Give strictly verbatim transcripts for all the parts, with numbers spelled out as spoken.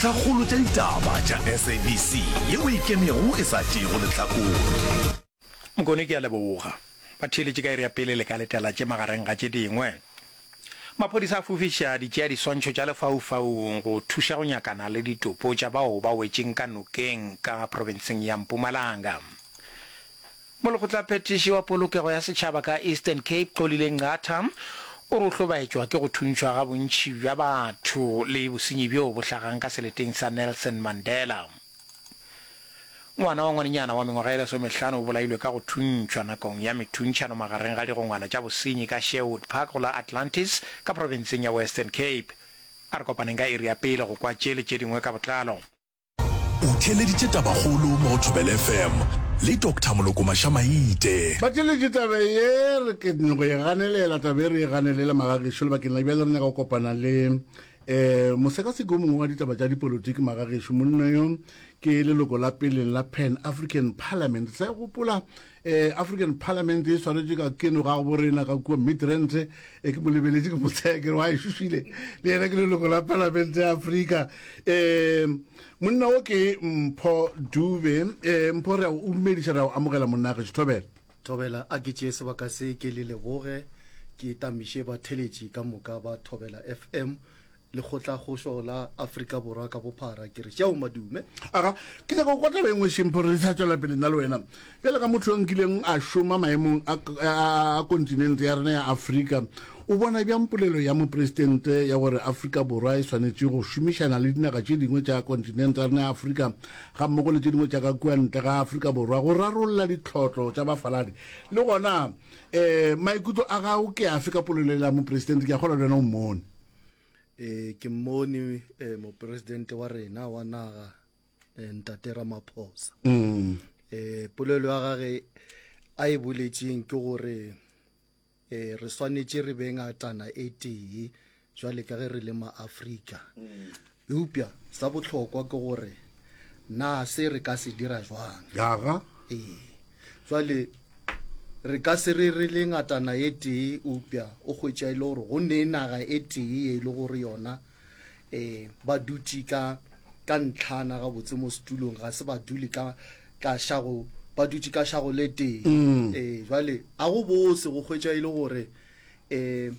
Tlhakgolo tša ditaba tša S A B C yeo e ikemego e sa tšeego lehlakore. Mokone ke a leboga. Batheeletši ka iri ya pele le ka letela tše magareng ga tše dingwe. Maphodisa a fofiša ditšeadiswantšho tša lefaufaung go thuša go nyakana le ditopo tša bao ba wetšeng ka nokeng ka profenseng ya Mpumalanga. Molekgotlaphethiši wa polokego ya setšhaba ka Eastern Cape, Xolile Nqatha, o re o hlobaetšwa ke go thuntšhwa ga bontši bja batho le bosenyi bjo bo hlagang ka seleteng sa Nelson Mandela. Ngwana wa ngwanenyana wa mengwaga e lesomehlano o bolailwe ka go thuntšhwa nakong ya methuntšhano magareng ga digongwana tša bosenyi ka Sherwood Park go la Atlantis ka profenseng ya Western Cape. A re kopaneng ka iri ya pele go kwa tše le tše dingwe ka botlalo. O theeleditše Tabakgolo mo go Thobela F M le Doctor Moloko Mašamaite. Batheeletši, taba ye re ke nyako e ganelela, taba e re e ganelela magagešo lebakeng la bjale. Re nyaka go kopana le um mosekaseki o mongwe wa ditaba tša dipolotiki magagešo. Monna yo ke leloko la peleng la Pan African Parliament. Sa gopola um African Parliament e swanetše ka keno ga bo rena ka kua Midrand. E ke mo lebeletše, ke mo tsaya, ke re wa e šošile le yena ke leloko la Parliament ya Afrika. um monna o ke Mpho Dube. um Mpho, re a o dumediša, re a o amogela monna gešo. Thobela. Thobela. A ke tšee sebaka se ke le leboge, ke tamiše batheletši ka moka ba Thobela F M, Lekgotlakgošo la Afrika Borwa ka bophara, ke re šeo madume. Aga, ke nyaka go kwa taba e nngwe šempho re sa tswela pele nna le wena. Bjale ka motho yo nkileng a šoma maemong a, a, a kontinente ya rena ya Afrika, o bona bjang polelo ya mopresidente ya gore Afrika Borwa e swanetše go šomišana le dinaga tše dingwe tša kontinente ya rena ya Afrika ga mmogo le tše dingwe tša ka kua ntle ga Afrika Borwa go rarolla ditlhotlo tša bafaladi? Le gona um maikutlo a gago ke afe ka polelo ya mopresidente? Ke a kgola le wena o mmone. E ke mmone eh, mopresidente wa rena wa naga, eh, ntate Ramaphosa. mm. eh polelo ya gage a e boletšeng ke gore eh re swanetše re be ngatana e tee jwale ka ge re le maAfrika, eupša sa bohlokwa ke gore na se re ka se dira jwang. Aga. Ee, jwale re ka se re re le ngatana e tee, eupša o hwetša e le gore go ne naga e tee e le gore yona um ba dutše ka ka ntlhana gabotse mo setulong, ga se ba dule ka ka šago, ba dutše ka šago le tee. Mm. Ee, jwale a go bose go hwetša e le gore um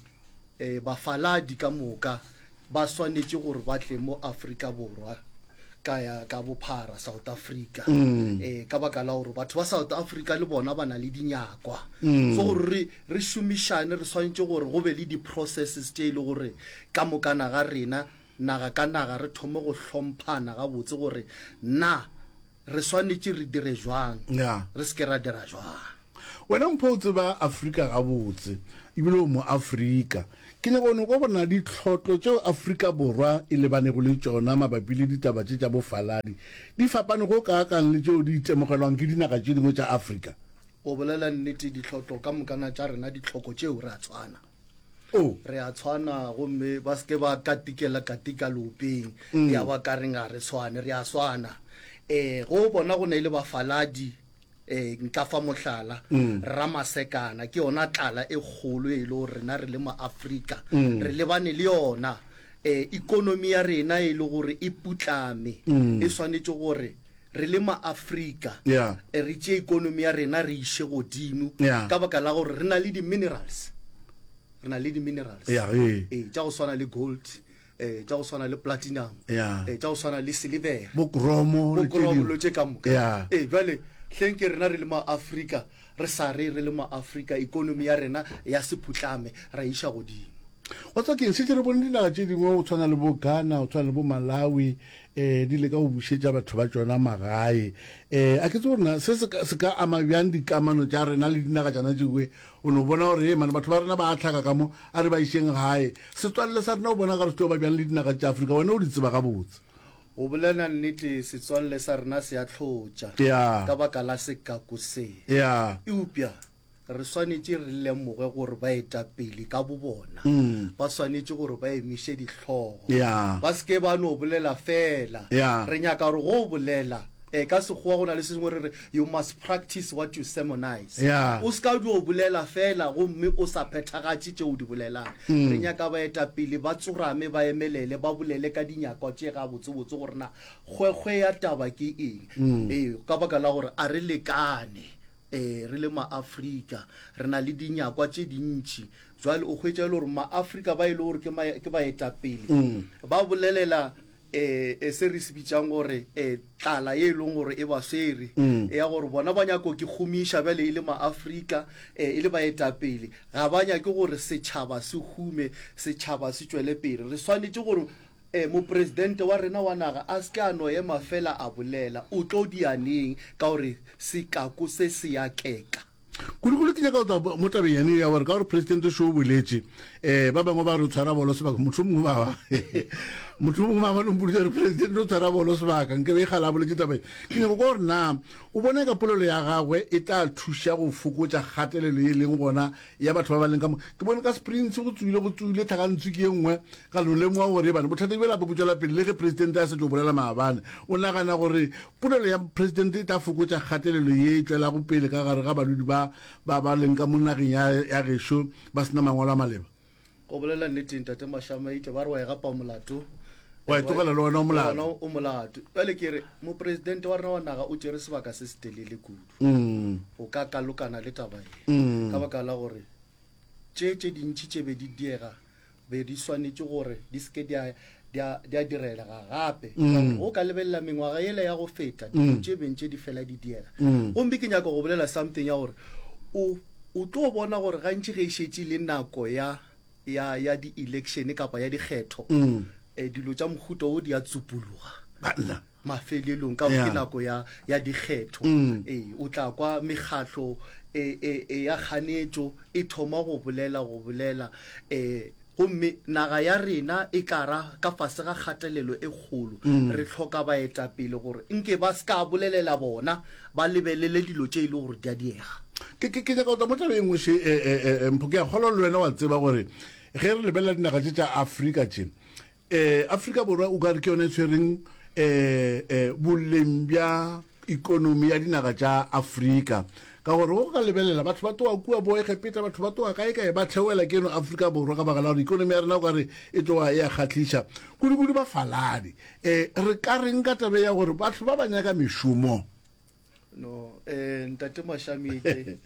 um bafaladi ka moka ba swanetše gore ba tle mo Afrika Borwa ka ya ka bophara, South Africa, Mm. eh ka baka la gore batho ba South Africa le bona ba na le dinyakwa. Mm. So gore re re šomišane, re swanetše gore go be le di-processes tše e le gore ka mokana ga rena, naga ka naga, re thome go hlomphana gabotse gore na re swanetše re dire jwang, ya re se ke ra dira jwang. Wena Mpho, o tseba Afrika gabotse ebile o mo Afrika. Ke nyaka go kwa bona ditlhotlo tšeo Afrika Borwa e lebanego le tšona mabapi le ditaba tše tša bofaladi di fapane go kaakang le tšeo di itemogelwang ke dinaga tše dingwe tša Afrika. Go bolela nnete, ditlhotlo ka mokana tša rena, ditlhoko tšeo, re a tshwana. O re a tshwana, gomme ba seke ba katikela katika leopeng ya ba ka reng ga re tshwane. Re a swana. um go bona go ne le bafaladi, um nka fa mohlala, Ramasekana, ke yona tlala e kgolo e le gore rena re le maAfrika re lebane le yona. um ikonomi ya rena e le gore e putlame, e swanetše gore re le maAfrika Yeah. eh, re tšee ikonomi ya rena re iše godimo, Yeah. ka baka la gore re na le di-minerals, re na le di-minerals Ya, ee. ee, tša go swana le gold, eh tša go swana le platinum, Yeah. eh tša go swana le silver, bo kromo le tše bo dingwe. tše ka moka. Yeah. Ee, jwale hleng ke rena re le maAfrika re sa re re le maAfrika ikonomi ya rena ya sephutlame ra iša godimo. Wa tseba keng, šetše re bone dinaga tše dingwe go tshwana le bo Ghana, go tshwana le bo Malawi, um di leka go bušetša batho ba tšona magae. um a ke tse gore na se se ka- se ka ama bjang dikamano tša rena le dinaga tšana tšengwe. O no bona gore e mane batho ba rena ba a tlhaka ka mo, a re ba išeng gae. Setswalle sa rena o bona gare se tlo ba bjang le dinaga tša Afrika? Wena o di tseba gabotse. Go bolela nnete, setswalle sa rena se a tlhotša Ya. ka baka la sekaku se, ya eupša re swanetše re lemoge gore baetapele ka bo bona ba swanetše gore ba emiše dihlogo, Ya. ba se ke ba no bolela fela. Ya. Re nyaka gore go bolela Um ka Sekgowa go na le se sengwe re re you must practice what you sermonize. Yeah. O se ka dio bolela fela gomme o sa phethagatše tše o di bolelang. Re nyaka baetapele ba tsorame ba emelele ba bolele ka dinyakwa tše gabotsebotse gore na kgwekgwe ya taba ke eng. Ee, ka baka la gore a re lekane. Ee, re le Maafrika re na le dinyakwa tše dintši. Jwale o hwetša e le gore Maafrika ba e le gore ke ke baetapele ba bolelela um se re se bitšang gore um tlala ye e leng gore e ba swere ya gore bona ba nyako ke gomiša bjale e le Maafrika um e le baetapele ga ba nyake gore setšhaba se hume, setšhaba se tšwele pele. Re swanetše gore um mopresidente wa rena wa naga a se ke a no ema fela a bolela, o tlo dia neng ka gore sekako se se ya keka. Kudu-kudu ke nyaka go tla mo tabeng yane ya gore ka gore presidente šo o boletše, um ba bangwe ba re o tshwara bolo sebaka, motho mongwe ba motho mongwe ba bane mpoditse gore presidente o tshwara bolo sebaka, nke be e kgale a boletše taba e. Ke nyaka kwa gore na o bona ka polelo ya gagwe e tla thuša go fokotša kgatelelo ye leng gona ya batho ba ba leng ka mo. Ke bone ka Springs go tswile go tswile tlhakantswi ke ye nngwe ka no lemoga gore bana bothata bjela bo tšwela pele le ge presidente a se tlo bolela maabane. O nagana gore polelo ya presidente e tla fokotša kgatelelo ye e tšwelago pele ka gare ga badudi ba ba ba leng ka mo nageng ya ya gešo ba se na mangwalo a maleba? Go bolela nnete, Ntate Mashamaite, ba re wa e gapa molato, Wa e tlogela le wena o molato. Wena o molato. Bjale ke re mopresidente wa rena wa naga o tšere sebaka se setelele kudu go ka kalokana le taba ye, ka baka la gore tše tše dintši tše be di diega be di swanetše gore di se ke di a di a di a direlega gape. Ka gore go ka lebelela mengwaga yela ya go feta, dilo tše beng tše di fela di diega. Gomme ke nyaka go bolela something ya gore o o tlo bona gore gantši ge e šetše le nako ya ya ya di-election kapa ya dikgetho, eh, dilo tša mohuta wo di a tsupologa Banna. mafelelong ka gore ke Yeah. nako ya ya dikgetho. Ee, o tla kwa mekgatlo e, e, e ya kganetšo e thoma go bolela go bolela eh gomme naga ya rena e tla ra ka fase ga kgatelelo e kgolo. Re hloka baetapele gore nke ba se ka bolelela bona ba lebelele dilo tše e le gore di a diega. Ke ke ke nyaka go tla mo tabeng e nngwe še, eh, eh, eh, Mpho, ke a kgolwa le wena wa tseba gore ge re lebelela dinaga tše tša Afrika tše, eh, Afrika Borwa o ka re ke yona e tshwereng eh, eh, boleng bja ikonomi ya dinaga tša Afrika. Ka gore go ka lebelela batho ba tloga kua bo Egepeta, batho ba tloga kae kae ba theoela keno Afrika Borwa ka baka la gore ikonomi ya rena o ka re e tloga e a kgahliša, kudu-kudu bafaladi. Eh, re ka reng ka taba ya gore batho ba ba nyaka mešomo? No, eh, Ntate Mashamike.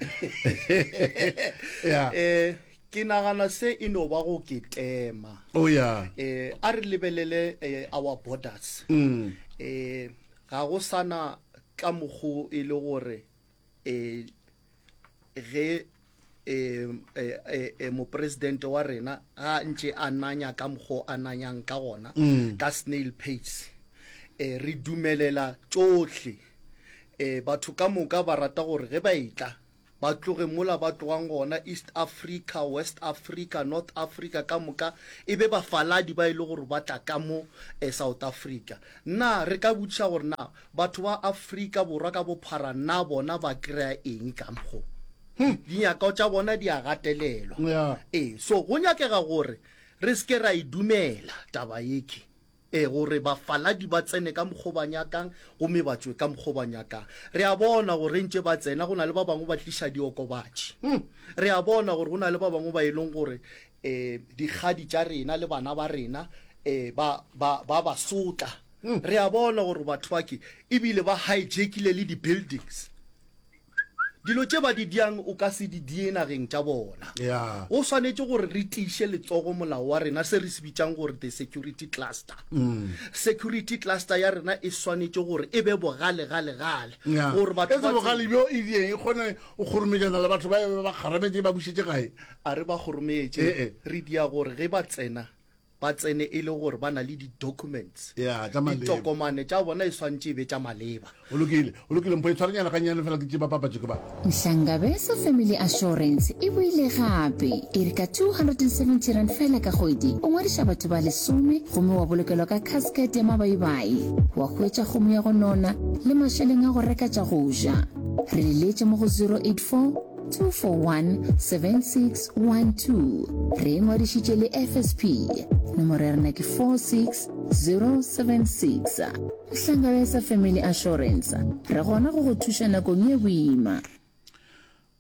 Yeah. Eh, ke nagana se e no ba go ke tema. Oh yeah. Eh, a re lebelele eh, our borders. Mm. Eh, ga go sana ka mokgo e le gore eh ge eh, eh, eh, eh, mopresidente wa rena ga ntše a nanya ka mokgo a nanyang ka gona ka snail pace, eh, re dumelela tšohle. Eh, batho ka moka ba rata gore ge ba etla ba tloge mola ba tlogang gona, East Africa, West Africa, North Africa ka moka e be bafaladi ba e le gore ba tla ka mo eh, South Africa. Na re ka botšiša gore na batho ba Afrika Borwa ka bophara na bona ba kry-a eng ka mokgo? Dinyakwa tša bona di a gatelelwa. Yeah. Ee, so go nyakega gore re se ke ra e dumela taba yeke, ee, gore bafaladi ba tsene ka mokgo ba nyakang gomme ba tšwe ka mokgo ba nyakang. Re a bona gore ntše ba tsena go na le ba bangwe ba tliša diokobatši. Re a bona gore go na le ba bangwe ba e leng gore um dikgadi tša rena le bana ba rena um ba ba ba ba sotla. Re a bona gore batho ba ke ebile ba hijackile le di-buildings. Dilo tše ba di diang o ka se di die nageng tša bona. Yeah. Go swanetše gore re tiiše letsogo molao wa rena, se re se bitšang gore the security cluster. Security cluster ya rena e swanetše gore e be bogale gale gale. Yeah. Gore batho E se ba bogale tsebe. bjo e dieng e kgone go kgorometšana le batho ba ba kgarametše ba bušetše gae. A re ba kgorometše, Eh, eh. re dia gore ge ba tsena ba tsene e le gore ba na le di-documents. Yeah, tša maleba. Ditokomane tša bona e swantše e be tša maleba. O lokile, o lokile, Mpho e tshwarenyana gannyane fela ke tše ba papatše ke ba. Nhlangabeso Family Assurance e boile gape. E re ka two hundred and seventy rand fela ka kgwedi, o ngwadiša batho ba lesome gomme wa bolokelwa ka casket ya mabaibai, wa hwetša kgomo ya go nona le mašeleng a go reka tša go ja. Re leletše mo go zero eight four two four one seven six one two. Re ingwadišitše le F S P. Nomoro ya rena ke four six zero seven six. Hlangabetsa Family Assurance. Re gona go go thuša nakong ye boima.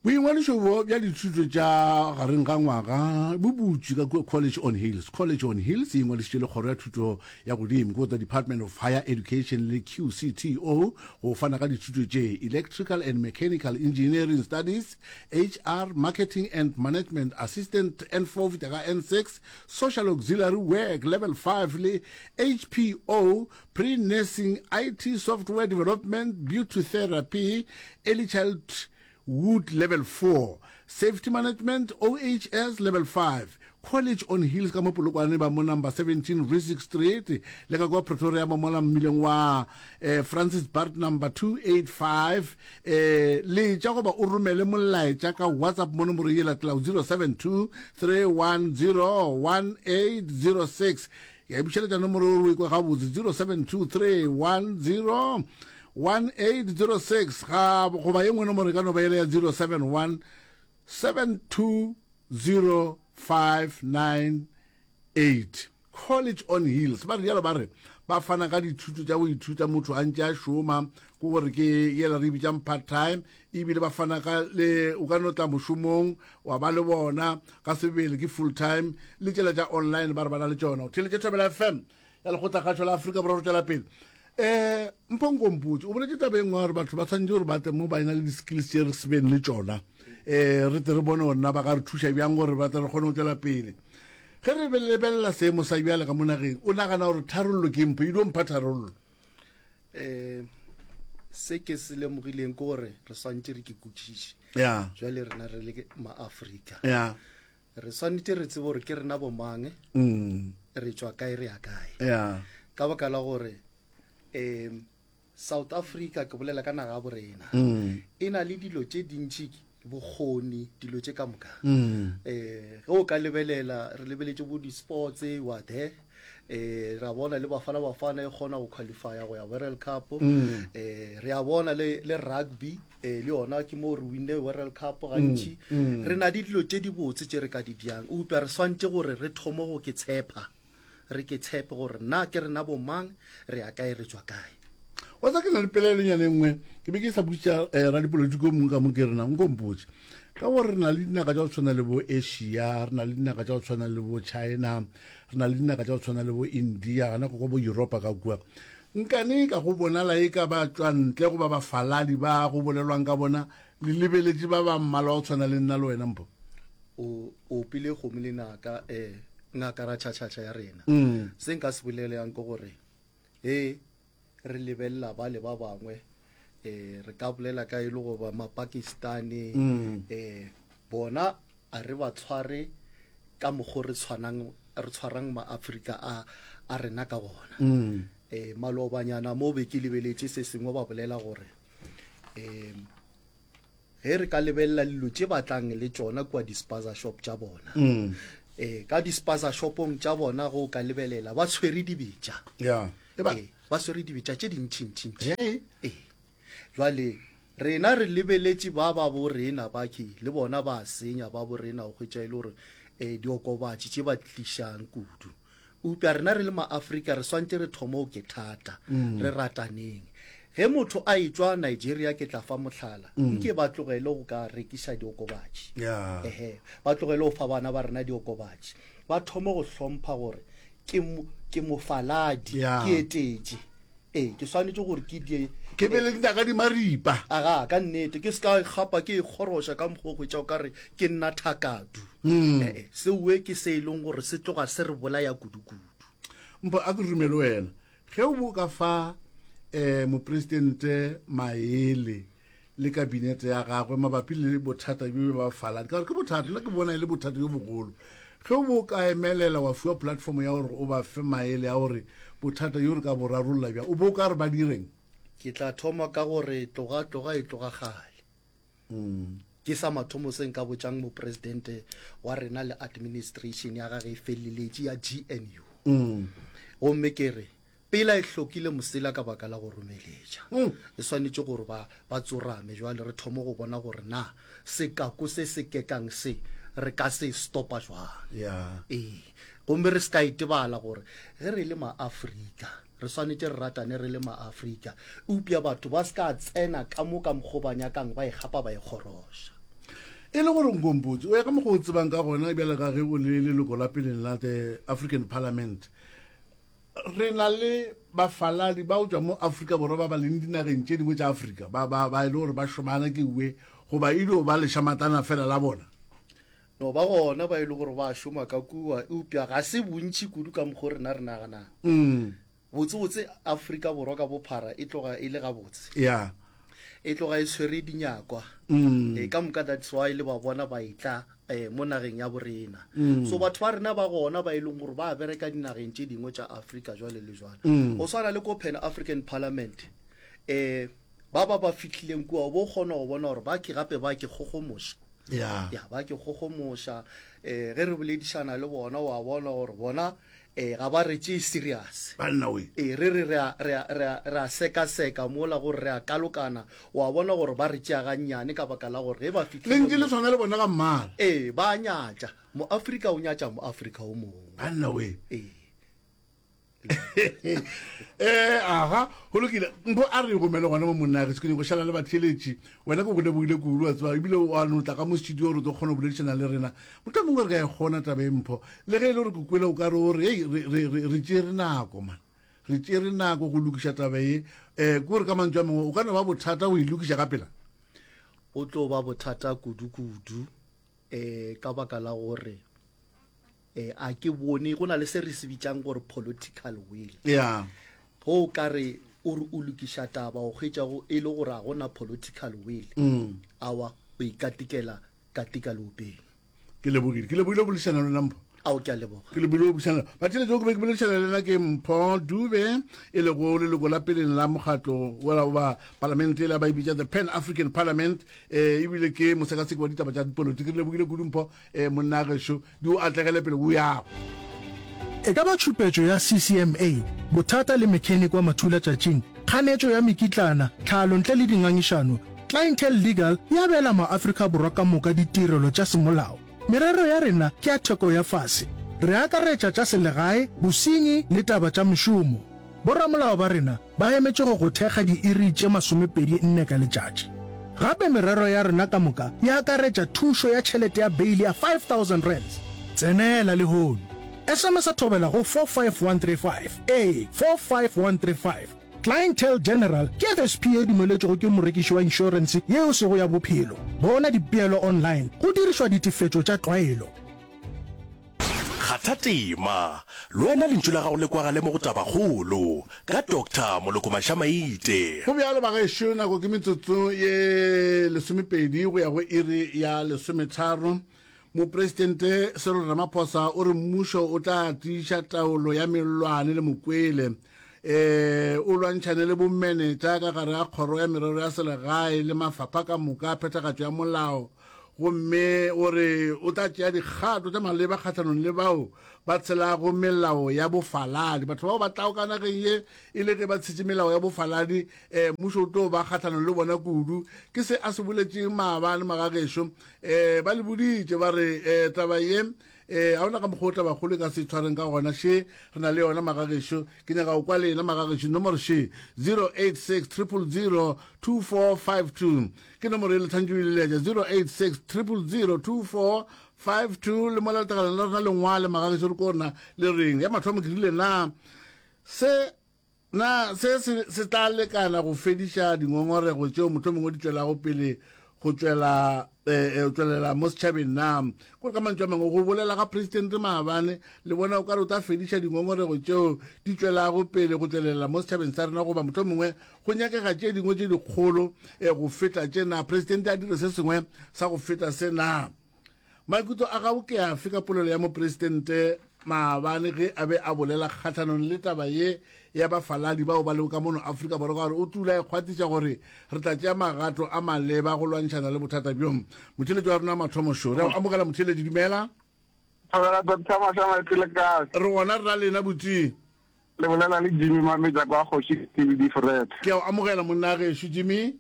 Boingwadišo bo bja dithuto tša gareng ga ngwaga bo butšwe ka kua College on Hills. College on Hills e ingwadišitše le Kgoro ya Thuto ya Godimo, ke the Department of Higher Education le Q C T O go fana ka dithuto tše: Electrical and Mechanical Engineering Studies, H R, Marketing and Management Assistant N four fihla ka N six, Social Auxiliary Work Level five le H P O, Pre-Nursing, I T Software Development, Beauty Therapy, Early Childhood Level four, Safety Management, O H S Level five. College on Hills ka mo Polokwane ba mo number seventeen Rissik Street, le ka kwa Pretoria ba mola mmileng wa eh, Francis Bart number two eighty-five. eh, letša goba o romele molaetša ka WhatsApp mo nomoro ye latelago zero seven two three one zero one eight zero six. Ya bušeletša nomoro o e kwa gabotse, zero seven two three one zero one eight zero six, ga goba ye nngwe nomoro e ka no ba ele ya zero seven one seven two zero five nine eight. College on Hills ba re jalo, ba re ba fana ka dithuto tša go ithuta motho a ntše a šoma, ke gore ke yela re bitsang part time, ebile ba fana ka le o ka no tla mošomong wa ba le bona ka sebele ke full time, le tšela tša online ba re ba na le tšona. O theletše Thobela F M ya Lekgotlakgašo la Afrika Borwa. Re tšwela pele. um Mpho, nkompotse, o boletse taba e nngwe gore batho ba tshwanetse gore ba tle mo ba ena le di-skills tše re se beng le tšona, um re tle re bone gore na ba ka re thuša bjang gore ba tle re kgone go tswela pele. Ge re lebelela seemo sa bjale ka mo nageng, o nagana gore tharollo ke mpho e dio mpha tharollo? um se ke se lemogileng ke gore re swantse re ke kwešiše. Ya jwale rena re le maafrika, ya re swanetše re tsebe gore ke rena bomang, mm re tšwa kae, re ya kae. Ya ka baka la gore um South Africa, ke bolela ka naga ya borena, mm e na le dilo tše dintši, bokgoni, dilo tše ka moka. mm eh ge o ka lebelela, re lebeletše bo di-sports wa there, eh ra bona le Bafana Bafana e kgona go qualifya go ya World Cup. Mm. eh re a bona le le rugby, eh le yona ke mo re winne World Cup gantši. Mm. Re na le dilo tše dibotse tše re ka di diang, eupša re swantše gore re thome go ke tshepa, re ke tshepe gore na ke rena bomang, re ya kae, re tswa kae. Wa tsa ke na le pelaelonyana e nngwe ke be ke sa botša um radipolotiki o mongwe ka mo, ke rena nkompotse ka gore re na le dinaga tša go tshwana le bo Asia, re na le dinaga tša go tshwana le bo China, re na le dinaga tša go tshwana le bo India, gana go bo Europa ka kua. Nkane ka go bonala e ka ba tswa ntle goba bafaladi ba go bolelwang ka bona le lebeletše ba ba mmala wa go tshwana le nna le wena, Mpho? O o opile kgomo le naka, um ngaka ra tšhatšhatšha ya rena. Mm. Se nka se boleleang ke gore he re lebelela ba le ba bangwe, um re ka bolela ka e le goba Mapakistani, Mm. um bona a re ba tshware ka mokgo re tshwanang, re tshwarang maafrika a a rena ka gona. Mm. um malobanyana mo be ke lebeletše se sengwe, ba bolela gore um ge re ka lebelela dilo tše batlang le tšona kua di-spaza shop tša bona, Mm. eh ka di-spaza shopong tša bona, go ka lebelela ba tshwere dibetša. Ya e ba ee, ba swere dibetša tše dintšhintšhintši. Hey. Ee, jwale rena re lebeletše ba ba bo rena ba ke le bona ba senya ba bo rena, go hwetša e le gore um diokobatši tše ba tlišang kudu. Eupša rena re le maafrika re swantše re thome go ke thata, re rataneng. Ge motho a etšwa Nigeria, ke tla fa mohlala, nke ba tlogele go ka rekiša diokobatši. Ya ehe, ba tlogele go fa bana ba rena diokobatši, ba thome go hlompha gore ke mo- ke mofaladi, Ya. ke etetše, ee, ke swanetše gore ke die. Ke be le dinaka di maripa. Aga, ka nnete, ke se ka gapa ke ikgoroša ka mokgwa o hwetša o ka re ke nna thakadu. Mm. ee seoe ke se e leng gore se tloga se re bolaya kudu-kudu. Mpho, a ke rumele wena, ge o bo ka fa um mopresidente maele le kabinete ya gagwe mabapi le bothata bjo ba faladi, ka gore ke bothata, nna ke bona e le bothata bjo bogolo, ge o bo ka emelela wa fiwa platform ya gore o ba fe maele a gore bothata bjo re ka bo rarolla bjang, o bo o ka re ba direng? Ke tla thoma ka gore tloga tloga e tloga gale. Mm. Ke sa mathomo se nka botšang mopresidente wa rena le administration ya gage e feleletše ya G N U. Mm. Gomme ke re Pela e hlokile mosela ka baka la go romeletša. E swanetše gore ba, ba tsorame jwale re thome go bona gore na sekako se se kekang se re ka se stopa jwang. Yeah. Ee. Gomme re se ka itebala gore ge re le Maafrika, re swanetše re ratane re le Maafrika. Eupša batho ba se ka tsena ka mo ka mokgo ba nyakang ba e gapa ba e kgoroša. E le gore Nkompotse, o ya ka mokgwa o tsebang ka gona bjale ka ge o le leloko la peleng la the African Parliament, Re na le bafaladi ba go tšwa mo Afrika Borwa ba ba leng dinageng tše dingwe tša Afrika, ba, ba, ba e le gore ba šomana ke uwe, goba e dio ba lešamatana fela la bona. No ba gona ba e le gore ba šoma ka kua, eupša ga se bontši kudu ka mokgo rena re naganang. Mm. Botsebotse Afrika Borwa ka bophara e tloga e le gabotse. Ya. E tloga e tshwere dinyakwa. Mm. E, ka moka that's why le ba bona ba etla eh, mo nageng ya borena. Mm. So batho ba rena ba gona ba e leng gore ba bereka dinageng tše dingwe tša Afrika jwale le jwale. Mm. Go swana le ko Pan African Parliament, eh, ba ba ba fihlileng kua o bo kgona go bona gore ba ke gape ba ke kgogomoša. Ya. Ya, ba ke kgogomoša. Eh, ge re boledišana le bona wa bona gore bona eh, ga ba re tšee serious. Banna we. Ee, re re re a, re a, re a, re a sekaseka mola gore re a kalokana, wa bona gore ba re tšea gannyane ka baka la gore ge ba fihlile Lentše le mo, tshwana le bona ka mmala. ee, ba a nyatša. Moafrika o nyatša Moafrika o mongwe. Banna we. Ee. Eh, aha, go lokile. Mpho a re romele gona mo monna ge ke nyako šala le batheeletši. Wena ke go lebogile kudu wa tseba ebile wa no tla ka mo studio gore o tlo kgona go boledišana le rena. Mohlomongwe re ka e kgona taba e Mpho. Le ge e le gore ke kwele o ka re o re hei re re re re tšere nako man. Re tšere nako go lokiša taba ye. Eh, ke gore ka mantšu a mangwe o ka no ba bothata go e lokiša ka pela. Go tlo ba bothata kudu-kudu eh ka baka la gore eh a ke bone go na le se re se bitsang gore political will. Yeah. Go o ka re o re o lokiša taba o hwetša go e le gore a gona political will. Mm. Awa o ikatikela katika leopeng. Ke lebogile. Ke lebogile go boledišana le wena Mpho. Ao ke a leboga. Ke lebogile go boledišana. Batheeletši ke be ke boledišana le yena ke Mpho Dube e lego leloko la peleng la mokgatlo wa ba palamente e la ba e bitša the Pan African Parliament eh ebile ke mosekaseki wa ditaba tša dipolotiki. Re lebogile kudu Mpho eh monna gešo di o atlegele pele o yago. E ka ba tšhupetšo ya C C M A, bothata le mechanic wa mathulatšatšing, kganetšo ya mekitlana, tlhalo ntle le dingangišano, Clientele Legal e abela maAfrika Borwa ka moka ditirelo tša semolao. Merero ya rena ke ya theko ya fase. Re akaretša tša selegae, bosenyi le taba tša mešomo. Boramolao ba rena ba emetše go go thekga diiri tše masomepedi nne ka letšatši. Gape merero ya rena ka moka e akaretša thušo ya tšhelete ya beili ya five thousand rands. Tsenela lehono. S M S thobela go four five one three five, ee, four five one three five. Clientele General ke F S P ye dumeletšwego ke morekiši wa inšorense ye e sego ya bophelo. Bona dipeelo online go dirišwa ditefetšo tša tlwaelo. Kgatha tema, le wena lentšu la gago le kwagale mo go Tabakgolo ka Doctor Moloko Mašamaite. Go bjalo bagešo, nako ke metsotso ye lesomepedi go ya go iri ya lesometharo. Mopresidente Cyril Ramaphosa o re mmušo o tla tiiša taolo ya mellwane le mokwele, eh, o lwantšhane le bomenetša ka gare ga kgoro ya merero ya selegae le mafapha ka moka a phethagatšo ya molao, gomme o re o tla tšea dikgato tša maleba kgahlanong le bao ba tshelago melao ya bofaladi. Batho bao ba tlago ka nageng ye e le ge ba tshetše melao ya bofaladi, eh, mmušo o tlo ba kgahlanong le bona kudu. Ke se a se boletšeng maabane magagešo. Eh, ba le boditše ba re eh, taba ye eh, ga ona ka mokgwa o tabakgolo e ka se tshwareng ka gona. Še re na le yona magagešo, ke nyaka go kwa lena magagešo. Nomoro še zero eight six triple zero two four five two ke nomoro e le tshwanetše o e leletša, zero eight six triple zero two four five two. Le mola letakaleng la rena lengwale magagešo re ko rena le reng ya mathomo ke rile na se na se se se tla lekana go fediša dingongorego tšeo mohlomongwe di tšwelago pele go tšwela eh, eh, tšwelela mo setšhabeng na? Kore ka mantšu a mangwe, go bolela ga presidente maabane le bona o ka re o tla fediša dingongorego tšeo di tšwelago pele go tšwelela mo setšhabeng sa rena, goba mohlomongwe go nyakega tše dingwe tše dikgolo eh, go feta tše na? Presidente a dire se sengwe sa go feta se na? Maikutlo a gago ke afe ka polelo ya mopresidente maabane ge a be a bolela kgahlanong le taba ye ya bafaladi bao ba lego ka mono Afrika Borwa, ka gore o tula e kgwathiša gore re tla tšea magato a maleba go lwantšhana le bothata bjo? Motheeletši wa rena wa mathomo šo, re a go amogela motheeletši, dumela. Thobela Doctor Mashamaite le kae? Re gona re na lena botši. Le bolela le Jimmy Mametja kwa Kgoši C B D Fred. Ke a o amogela monna gešo Jimmy.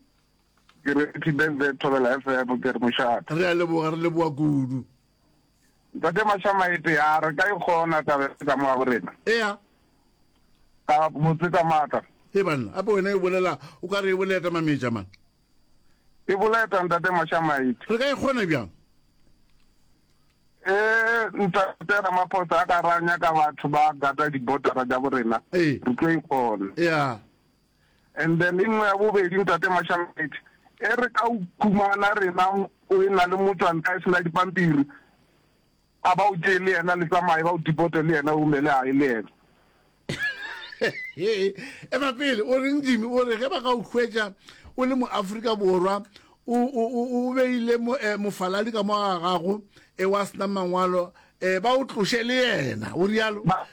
Ke re happy birthday Thobela F M, ke re mošate. Re a leboga, re leboga kudu. Ntate Mashamaite, a re ka ikgona taba ka mo ga rena? Ea. Ka botse ka maatla. He banna, ape wena e bolela o ka re e boleta Mametja man. E boleta ntate Mashamaite. Re ka ikgona bjang? Eh ntate Ramaphosa a ka ra nyaka batho ba gata dibotara tša borena. Ee. Re tlo ikgona. Yeah. And then e nngwe ya bobedi ntate Mashamaite, e re ka o khumana rena o e na le motswantle a sena dipampiri, a ba o tšee le yena le tsamaye ba o deporte le yena o romele ae le yena. Ema pele, o reng Jimmy? O re ge ba ka o hwetša o le mo Afrika Borwa o o o beile mofaladi ka mo ga gago e wa sena mangwalo, e ba o tloše le yena, o rialo? Ba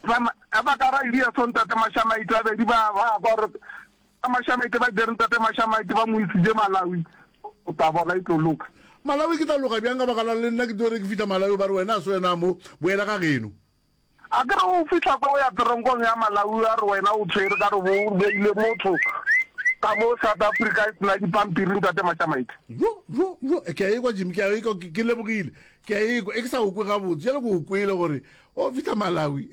ba ka ra idea so ntate Mashamaite babedi ba ba kwa gore ba Mashamaite ba dire ntate Mashamaite ba mo isitše Malawi, o tla bona e tlo loka. Malawi ke tla loka bjang ka baka la le nna ke tlo re ke fihla Malawi ba re wena a se wena mo, boela ga geno. A ke re o fihla kwa o ya teronkong ya Malawi a re wena o tshwere ka re bo o beile motho ka mo South Africa e sena dipampiri ntate Mashamaite. Jo jo jo, ke a ekwa Jimmy, ke a ekwa, ke lebogile, ke a ekwa, e ke sa o kwe gabotse, jale ke o kwele gore o fihla Malawi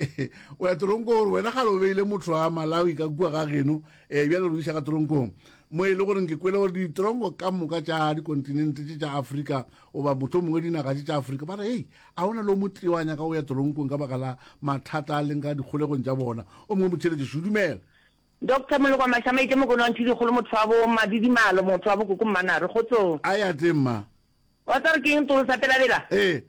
o ya teronkong gore wena gale o beile motho wa Malawi ka kua ga geno, um bjale re o iša ka teronkong mo e le goreng ke kwele gore ditronko ka moka tša dikontinente tše tša Afrika goba motho mongwe dinaga tše tša Afrika ba re hei a ona le o motee wa nyaka o ya teronkong ka baka la mathata a leng ka dikgolegong tša bona. O mongwe motheeletši dumela. Doctor Moloko Mashamaite Mokone wa Ntshidikgolo motho wa bo Madidimalo motho wa bo koko Mmanare kgotsong. A ya teng mma. Wa tseba gore ke eng tolo sa pelabela? Ee.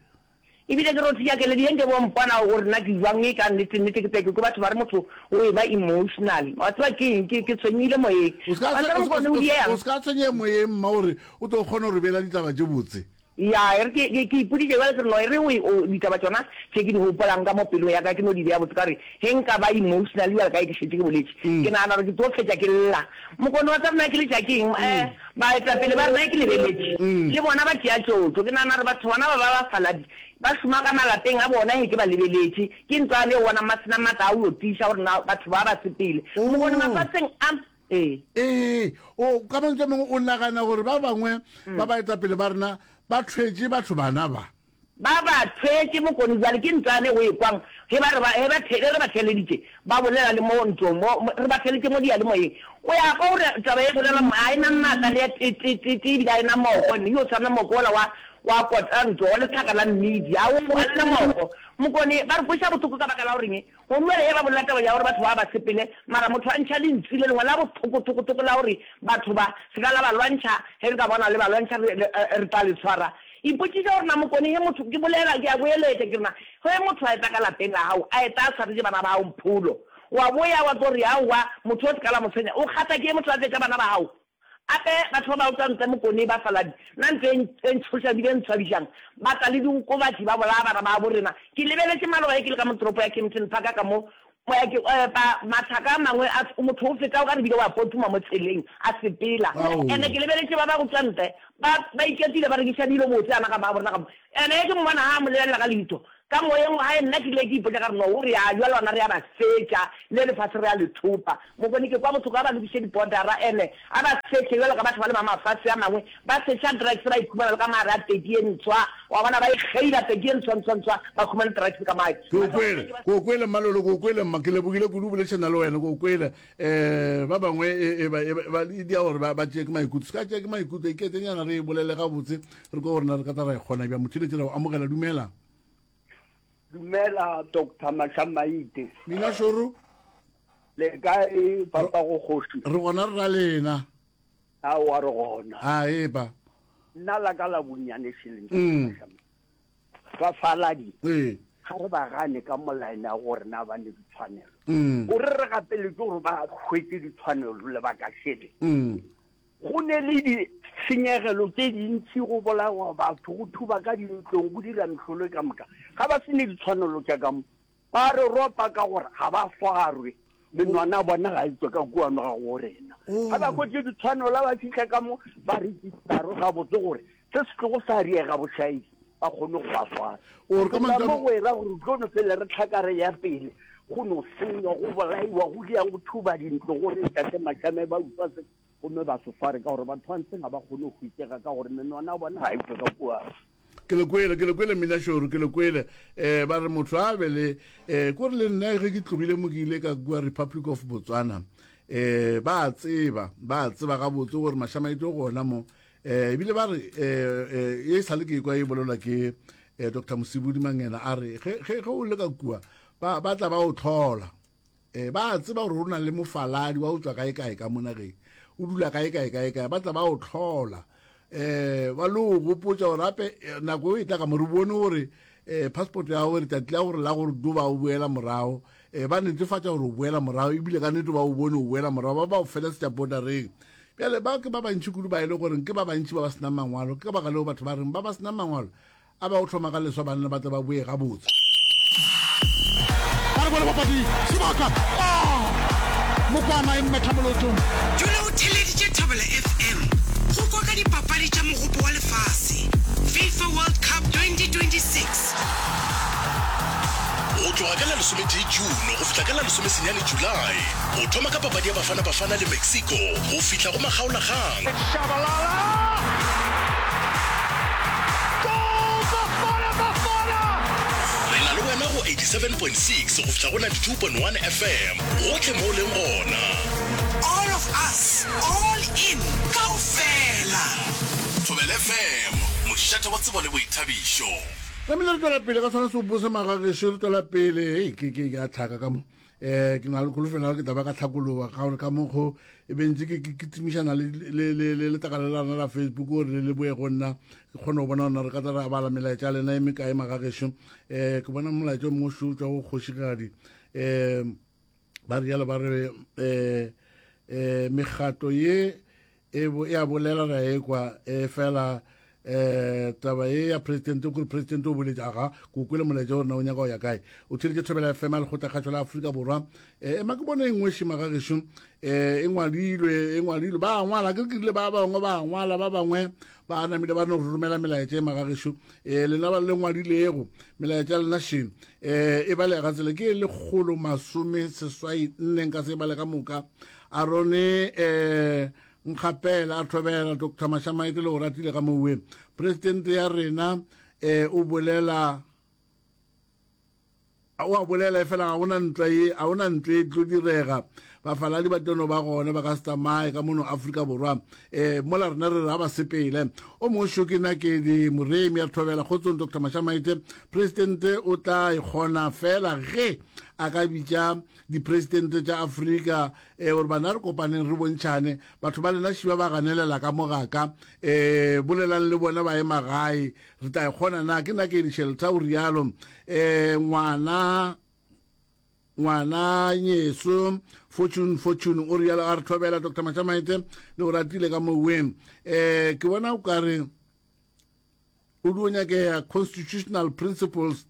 Ebile ke rothiša keledi ye nke bo mpona gore nna ke jwang e ka nnete nnete ke tle ke kwe batho ba re motho o e ba emotional. Wa tseba ke eng ke ke tshwenyehile moyeng. O se ka Wa tseba Mokone o diega. O se ka tshwenyega moyeng mma gore o tlo kgona go re beela ditaba tše botse. Ya, e re ke, ke, ke ipoditše bjale ke re, no, e re o, o, ditaba tšona tše ke di gopolang ka mo pelong ya ka, ke no di bea botse ka gore ge nka ba emotional bjalo ka ge ke šetše ke boletše, ke nagana gore ke tlo fetša ke lla. Mokone wa tsa rena ke letša ke eng? Eh, baetapele ba rena ke lebeletše, le bona ba tšea tšotšo. Ke nagana gore batho bona ba ba bafaladi ba šoma ka malapeng a bona ge ke ba lebeletše. Ke ntlwana yeo bonang ba se na maatla a go yo tiiša gore na batho ba ba sepele. Mokone mafaseng a. Ee. Ee, o, ka mantswe a mangwe o nagana gore ba bangwe ba baetapele ba rena ba thwetše batho bana ba? Ba ba thwetše Mokone bjale ke ntlwane go e kwang ge ba re ba, ge ba the, ge re ba theeleditše ba bolela le mo ntlong mo, mo, re ba theeleditše mo diyalemoyeng. O ya kwa gore taba e bolelwa mo ga e na maatla le ya te, te, te, te ebile ga e na moko, e yo tshwana moko wola wa, wa kota ntlo, wa lehlaka la mmidi, a o, ga le na moko. Mokone, ba re kweša bohloko ka baka la goreng? Gomme ge ba bolela taba ya gore batho ba ba sepele, mara motho a ntšha lentšu le lengwe la bothoko-thoko-thoko la gore batho ba se ka la ba lwantšha, ge re ka bona le ba lwantšha re, re, re tla le tshwara. Ipotšiše gore na Mokone ge motho, ke bolela, ke a boeletša ke re na ge motho a etla ka lapeng la gago, a etla a swaretše bana ba gago mpholo, wa boya wa tlo re aowa, motho o se ka la mo tshwenya, o kgatha ke motho a tletša bana ba gago? Gape batho ba ba utswa ntle Mokone ba faladi, nna ntho e e ntšhošang ebile e ntshwabišang, ba tla le diokobatši ba bolaya bana babo rena. Ke lebeletše maloba ge ke le ka mo toropo ya Kempton Park ka mo, moya ke epa mathaka a mangwe a motho o feta o ka re bile wa potuma mo tseleng a sepela. Ene ke lebeletše ba ba go tšwa ntle ba ba iketile ba rekiša dilo botse ana ga babo rena ka mo. Ene ge ke mmona ha a mo lebelela ka leitho ka moyeng wa gae nna ke ile ke ipotša ka re no o re a jwale gona re a ba fetša le lefase re a le thopa. Mokone ke kwa bohloko a ba lokiše dibordera ene a ba sehle bjalo ka batho ba le ba mafase a mangwe ba sehla drugs ba ikhumana le ka mogare a peki ye ntshwa wa bona ba ikgeila peki ye ntshwa ntshwa ntshwa ba khumane drugs ka mo Ke o kwele, ke o kwele Mmalolo, ke o kwele mma, ke lebogile kudu go boledišana le wena, ke o kwele. Um ba bangwe e, e, ba, e, ba, e dia gore ba, ba tšee ke maikutlo, se ka tšea ke maikutlo, iketenyana re e bolele gabotse, re kwe gore na re ka tla ra e kgona bjang. Motheeletši ra o amogela, dumela. Dumela Doctor Mashamaite. Mina Šoro. Le kae papa go kgoši? Re gona re ra lena. Aowa re gona. A epa. Nna la ka la bonnyane šeleng mm. Bafaladi. Ee. Ga re ba gane ka molaene ya gore na ba ne ditshwanelo. Mm. Gore re gapeletše gore ba hwetše ditshwanelo lebaka šele. Mm. Go ne le ditshenyegelo tše dintši, go bolawa batho, go thuba ka dintlong, go dira mehlolo ka moka. Ga ba se ne ditshwanelo tša ka mo, ba re ropa ka gore ga ba swarwe, menwana ya bona ga e tšwe ka kuano ga go rena. Ga ba hwetše ditshwanelo, ba fihla ka mo, ba registerwe gabotse gore se se tlogo sa diega bošaedi, ba kgone go ba swara. O re ka Go tla mantšu a mo go era gore re tlo no fele re hlaka re ya pele. Go no senywa, go bolaiwa, go diang, go thuba dintlo, go re Tate Mashame ba utswa se, gomme ba se sware ka gore batho ba ntseng ga ba kgone go hwetšega ka gore menwana ya bona ga e tšwe ka kua. Ke le kwele, ke le kwele Minašoru, ke le kwele. Eh, ba re motho a be le, eh, ko re le nna ge ke tlogile mo ke ile ka kua Republic of Botswana, eh, ba a tseba, ba a tseba gabotse gore Mashamaite o gona mo. Eh, ebile ba re, eh, eh, e sa le ke kwa e bolelwa ke, eh, Doctor Mosibudi Mangena, a re, ge, ge, ge o le ka kua, ba, ba tla ba o tlhola. Eh, ba a tseba gore o na le mofaladi wa o tswa kae kae ka mo nageng, o dula kae kae kae kae, ba tla ba o tlhola. Eh, ba lo gopotša gore gape, eh, nako e tla ka mo re bone gore, eh, passport ya gago letšatši la gore la gore do ba o boela morago, eh, ba netefatša gore o boela morago, ebile ka nnete ba o bone o boela morago, ba ba o felesetša bordereng. Bjale ba ke ba bantši kudu ba e le gore ke ba bantši ba ba senang mangwalo, ke ka baka leo batho ba reng ba ba senang mangwalo a ba o thoma ka leswa banna ba tle ba boe gabotse. Ba re bone papadi sebaka ah Mokwana e mmetha molotong. Dula o theeleditše Thobela F M go kwa ka dipapadi tša Mogopo wa Lefase, FIFA World Cup twenty twenty-six. Go tloga ka la lesometee June go fihla ka la lesomesenyane July, go thoma ka papadi ya Bafana Bafana le Mexico go fihla go makgaolakgang. Shabalala! Goal Bafana Bafana! Re na le wena go eighty-seven point six go fihla go ninety-two point one F M, gohle mo o leng gona. All of us, all in, kaofela. Thobela F M, mošate wa tsebo le boithabišo. Tlamehile re tšwela pele ka sona seopo se magagešo, re tšwela pele. Hei, ke, ke, ke a tlhaka ka mo. Eh, ke na le kholofelo ya gore ke tla ba ka tlhakologa ka gore ka mokgo e be ntse ke, ke, ke timišana le, le, le, le letlakala la rena la Facebook gore le le boe go nna, ke kgone go bona gore na re ka tla ra bala melaetša ya lena e mekae magagešo. Eh, ke bona molaetša o mongwe o šo o tšwa go kgošigadi. Eh, ba rialo ba re, eh, eh, mekgatlo ye e bo, e a bolela ra ekwa, e fela, eh, taba ye ya president, o kore president o boletše, aga, ke o kwele molaetša gore na o nyaka go ya kae. O theeletše Thobela F M ya Lekgotlakgašo la Afrika Borwa. Eh, ema ke bone e nngwe šima ga gešo, eh, e ngwadilwe, e ngwadilwe, ba ngwala, ke re ke rile ba bangwe ba ngwala, ba bangwe ba namile ba no romela melaetša e magagešo. Eh, lena ba le ngwadilego melaetša ya lena še, eh, e balega tsela ke e lekgolo masome seswai nne, nka se e bale ka moka. Arone, eh, Nkgapela a thobela Doctor Mashamaite le go ratile ka mowe. President ya rena, eh, o bolela, o a bolela efela ga gona ntwa ye, ga gona ntwa e tlo direga. Bafaladi ba tlo no ba gona, ba ka se tsamaye ka mono Afrika Borwa. Eh, mola rena re re ga ba sepele. O mongwe šo ke Nakedi Moremi a thobela kgotsong Doctor Mashamaite. President o tla e kgona fela ge a ka bitša dipresidente tša Afrika, eh, gore bana re kopaneng re bontšhane. Batho ba lena šiba ba ganelela ka mo gaka, eh, bolelang le bona ba ye magae, re tla e kgona na? Ke Nakedi Shelter o rialo. Eh, ngwana, ngwana nyeso Fortune, Fortune o rialo, a re thobela Doctor Mashamaite le o ratile ka moweng. Eh, ke bona o ka re o dio nyakega constitutional principles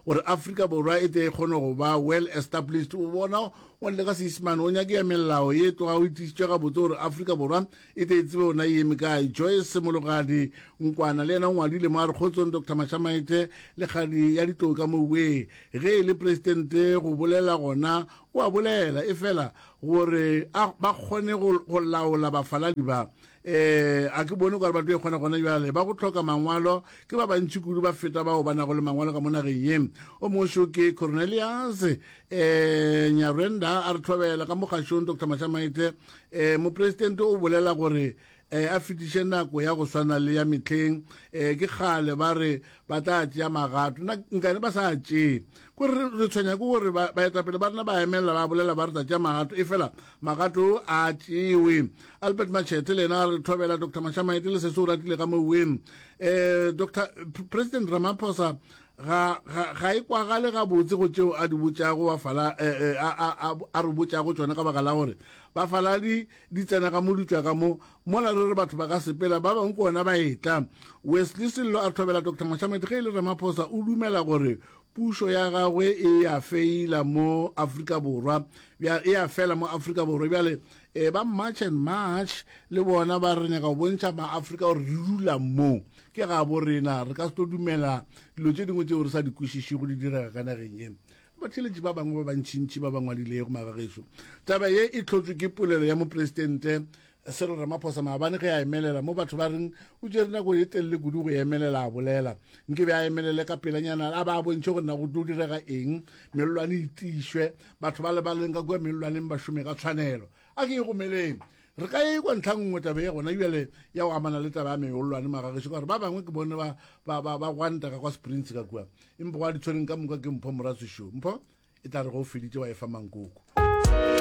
gore Afrika Borwa e tle e kgone go ba well established. O bona o le ka Seisemane o nyakega melao ye tloga o itišitše gabotse gore Afrika Borwa e tle e tsebe ona e eme kae. Joyce Mologadi Nkwana le yena o ngwadile mo a re kgotsong Doctor Mashamaite le kgadi ya ditlou ka moweng. Ge e le presidente go bolela gona o a bolela, e fela gore a ba kgone go, go laola bafaladi ba. Eh, a ke bone gore ba tlo e kgona gona bjale. Ba go hloka mangwalo ke ba bantši kudu, ba feta bao ba nago le mangwalo ka mo nageng ye. O mongwe šo ke Cornelius, eh, Nyarwenda a re thobela ka mogašong Doctor Mashamaite. Eh, mopresidente o bolela gore, eh, a fetiše nako ya go swana le ya mehleng. Eh, ke kgale ba re ba tla tšea magato, nna nkane ba sa tšee. Ko re, re tshwenya ke gore ba, baetapele ba rena ba emelela ba bolela ba re tla tšea magato, e fela magato a tšewe. Albert Machete le yena a re thobela Doctor Mashamaite le sese o ratile ka moweng. Eh, Doctor President Ramaphosa ga, ga, ga e kwagale gabotse go tšeo a di botšago bafala, eh, eh, a, a, a, a re botšago tšona, ka baka la gore bafaladi di tsena ka mo di tšwa ka mo, mola re re batho ba ka sepela, ba bangwe ke ona ba etla. Wesley Sello a thobela Doctor Mashamaite ge e le Ramaphosa o dumela gore pušo ya gagwe e a feila mo Afrika Borwa, bja, e a fela mo Afrika Borwa. Bjale, eh, ba March and March le bona ba re nyaka go bontšha ma-Afrika gore re dula mo, ke gabo rena, re ka se tlo dumela dilo tše dingwe tšeo re sa di kwešišego di direga ka nageng ye. Batheeletši ba bangwe ba bantšintši ba ba ngwadilego magagešo. Taba ye e hlotšwe ke polelo ya Mopresidente Cyril Ramaphosa maabane ge a emelela mo batho ba reng o tšere nako ye telele kudu go emelela a bolela. Nke be a emelele ka pelanyana a ba a bontšhe gore na go tlo direga eng, mellwane e tiišwe, batho ba le ba leng ka kua mellwaneng ba šome ka tshwanelo. A ke e gomeleng. Re ka e kwa ntlha nngwe taba ye gona bjale ya go amana le taba ya meollwane magagešo ka gore ba bangwe ke bone ba, ba, ba, ba gwanta ka kwa Springs ka kua. Empa gwa ditshweneng ka moka ke Mpho Moratswi šo. Mpho, e tla re ge o feditše wa e fa mankoko.